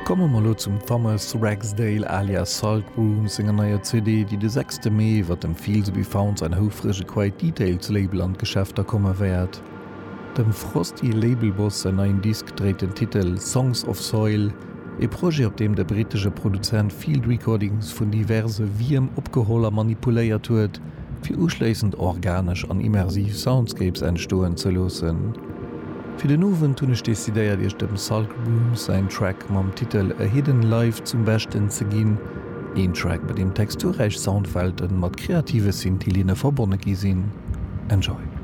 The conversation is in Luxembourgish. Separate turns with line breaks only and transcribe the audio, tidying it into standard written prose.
Komme mer lo zum Thomas Ragsdale alias Sulk Room senger neier CD, déi de sechste Mee iwwer dem Fields Be Found säin houfrege Quiet Details Label an d'Geschäfter komme wäert. Dem Frosty Labelboss säin neien Disk dréit den Titel Songs of Soil, e Projet op deem de brittesche Produzent Field Recordings vun diverse Wierm opgeholl a manipuléiert huet, fir uschléissend organesch an immersiv Soundscapes entstoen ze loossen. Fir den Owend hunn ech decidéiert iech dem Sulk Rooms säin Track mam Titel A Hidden Life zum Beschten ze ginn, een Track bei deem texturräich Soundwelten mat kreative Synthi-Linne verbonne gi sinn. Enjoy!